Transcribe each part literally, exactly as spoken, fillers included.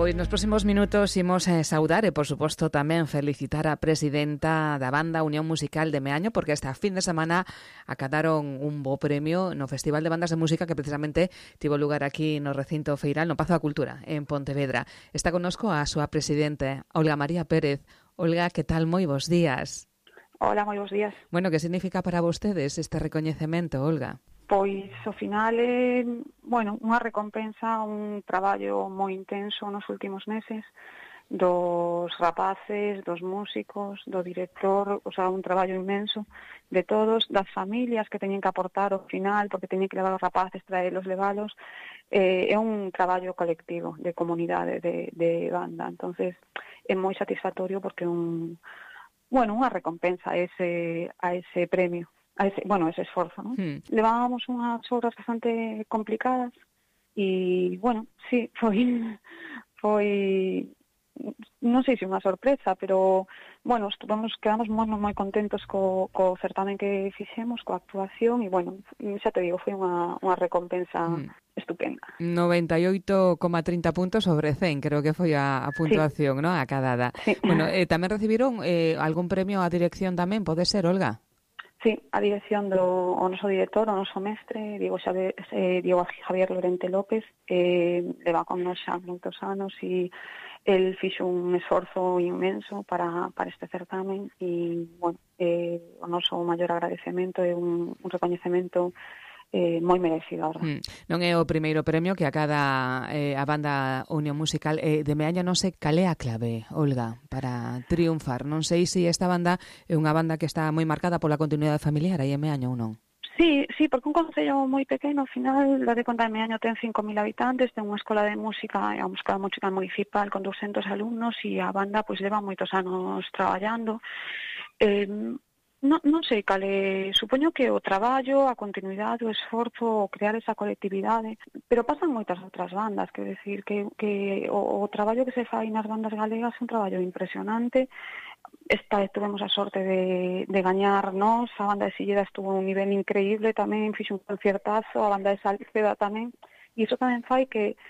Pois nos próximos minutos imos eh, saudar e, por suposto, tamén felicitar a presidenta da banda Unión Musical de Meaño, porque esta fin de semana acadaron un bo premio no Festival de Bandas de Música que precisamente tivo lugar aquí no recinto feiral, no Pazo da Cultura, en Pontevedra. Está connosco a súa presidente, Olga María Pérez. Olga, que tal? Moi bons días. Hola, moi bons días. Bueno, que significa para vostedes este recoñecemento, Olga? Pois, ao final, é, bueno, unha recompensa, un traballo moi intenso nos últimos meses dos rapaces, dos músicos, do director, o sea, un traballo inmenso de todos, das familias que teñen que aportar ao final, porque teñen que levar os rapaces, traelos, levalos. Eh, é un traballo colectivo de comunidade, de, de banda. Entonces, é moi satisfactorio porque un, bueno, unha recompensa a ese, a ese premio. A ese, bueno, ese esforzo, ¿no? Hmm. Levábamos unhas obras bastante complicadas e, bueno, sí, foi, foi, non sei se unha sorpresa, pero, bueno, estuvamos, quedamos moi, moi contentos co, co certamen que fixemos, coa actuación, e, bueno, xa te digo, foi unha, unha recompensa hmm. estupenda. noventa e oito coma trinta puntos sobre cen, creo que foi a, a puntuación, sí. ¿No? Acadada. Sí. Bueno, eh, tamén recibiron eh, algún premio á dirección tamén, pode ser, Olga? Sí, a dirección do o noso director, o noso mestre, Diego Xavier, eh, Diego Javier Lorente López, eh, leva con nos xa moitos anos e el fixo un esforzo inmenso para, para este certamen e, bueno, eh, o noso maior agradecemento é un, un recoñecemento eh, moi merecido, a verdade. Mm. Non é o primeiro premio que acada eh, a banda Unión Musical eh, de Meaño, non sei cal é a clave, Olga, para triunfar. Non sei se esta banda é unha banda que está moi marcada pola continuidade familiar aí en Meaño ou non. Sí, sí, porque un concello moi pequeno, ao final, la de conta de Meaño ten cinco mil habitantes, ten unha escola de música, é unha escola musical municipal con douscentos alumnos e a banda pois leva moitos anos traballando. Eh, Non, non sei cal é, supoño que o traballo, a continuidade, o esforzo, o crear esa colectividade, pero pasan moitas outras bandas, quero decir que, que o, o traballo que se fai nas bandas galegas é un traballo impresionante. Esta tuvemos a sorte de, de gañar nós, a banda de Silleda estuvo a un nivel increíble tamén, fixo un concertazo, a banda de Salceda tamén, e iso tamén fai que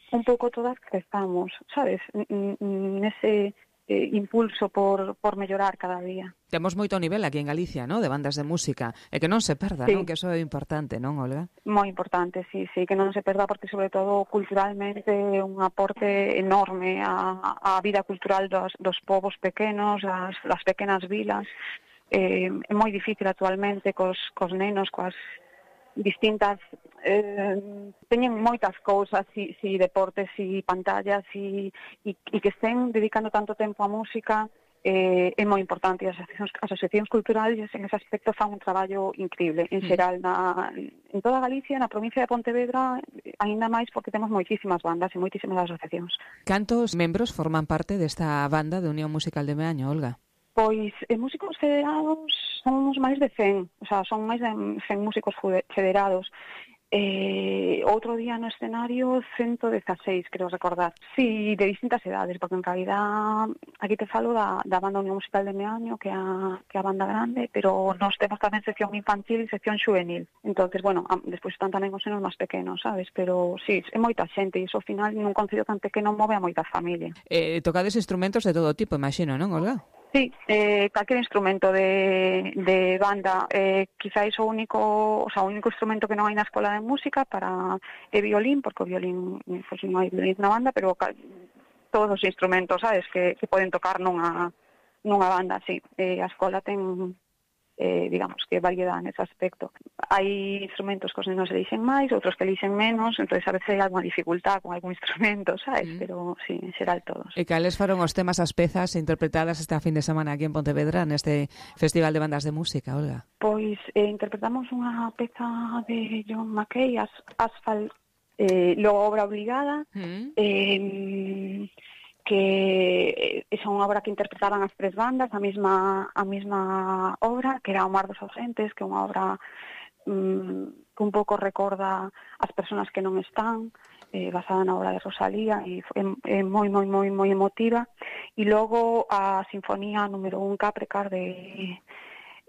un pouco todas crezamos, sabes, nese eh, impulso por, por mellorar cada día. Temos moito nivel aquí en Galicia, ¿no?, de bandas de música, e que non se perda, sí. Non? Que eso é importante, non, Olga? Moi importante, sí, sí, que non se perda porque sobre todo culturalmente é un aporte enorme á, á vida cultural dos, dos povos pequenos, as, as pequenas vilas. Eh, é moi difícil actualmente cos, cos nenos, coas distintas eh, teñen moitas cousas, si, si deportes, si pantallas, si, e, e que estén dedicando tanto tempo á música. Eh, é moi importante, as asociacións, as asociacións culturales en ese aspecto fan un traballo increíble en xeral na, en toda Galicia, na provincia de Pontevedra, aínda máis porque temos moitísimas bandas e moitísimas asociacións. Cantos membros forman parte desta banda de Unión Musical de Meaño, Olga? Pois, en músicos federados somos máis de cen, o sea, son máis de cen músicos federados. Eh, outro día no escenario ciento dezaseis, creo recordar. Sí, de distintas edades, porque en realidad aquí te falo da, da banda Unión Musical de Meaño, que a, que a banda grande, pero nos temos tamén sección infantil e sección xuvenil. Entonces, bueno, a, despois están tamén os nenos máis pequenos, sabes? Pero sí, é moita xente, e iso ao final nun concello tan pequeno move a moita familia. Eh, tocades instrumentos de todo tipo, imagino, non, Olga? Sí, eh, calquer instrumento de, de banda, eh, quizáis o único, o sea, o único instrumento que non hai na escola de música para é violín, porque o violín, pues, non hai violín na banda, pero cal, todos os instrumentos, sabes, que, que poden tocar nunha, nunha banda, sí. Eh, a escola ten, eh, digamos, que variedade nese aspecto. Hai instrumentos que os nenos elixen máis, outros que elixen menos, entonces a veces hai alguna dificultad con algún instrumento, sabes? Mm. Pero sí, en xeral todos. E cales foron os temas, as pezas interpretadas esta fin de semana aquí en Pontevedra neste Festival de Bandas de Música, Olga? Pois eh, interpretamos unha peza de John Mackay, As, Asphalt, eh, logo obra obligada, mm. eh, que é unha obra que interpretaban as tres bandas, a mesma a mesma obra, que era O mar dos ausentes, que é unha obra um, que un pouco recorda as persoas que non están, eh, basada na obra de Rosalía, e é, é moi, moi, moi, moi emotiva. E logo a Sinfonía número un Capricar, de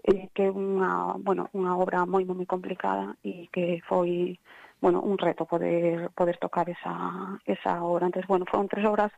eh, que é unha, bueno, unha obra moi, moi complicada e que foi bueno, un reto poder poder tocar esa esa obra. Entonces, bueno, fueron tres obras